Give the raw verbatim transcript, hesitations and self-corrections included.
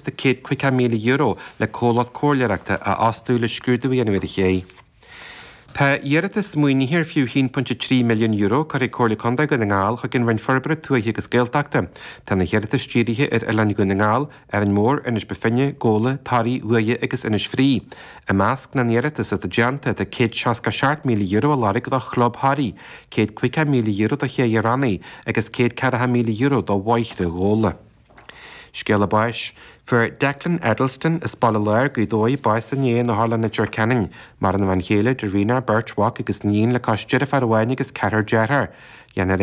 de céad caoga míle euro le comhlacht comhairleoireachta a fhostú le scrúdú a dhéanamh ar an ché. Tá iarratas maoinithe ar fiú haon pointe trí milliún euro curtha ag Comhairle Contae Dhún na nGall chuig an Roinn Forbartha Tuaithe agus Gaeltachta. Tá na hiarratais dírithe ar Oileán Dhún na nGall, Árainn Mhór, Inis Bó Finne, Gabhla, Toraigh, Uaighe agus Inis Fraoigh. I measc na n-iarratas atá déanta tá céad seasca seacht míle euro á lorg do Chlub Thoraí, céad caoga míle euro do Ché Fhear Annaidh agus céad ceathracha míle euro do Bhóithre Ghabhla. Scéala báis. Fuair Declan Edelston as Baile Láir, Gaoth Dobhair, bás inné in Otharlann Leitir Ceanainn. Maireann a bhean chéile, Darina, beirt mhac agus iníon le cois deirfiúr amháin agus ceathrar dearthár. Dhéanfar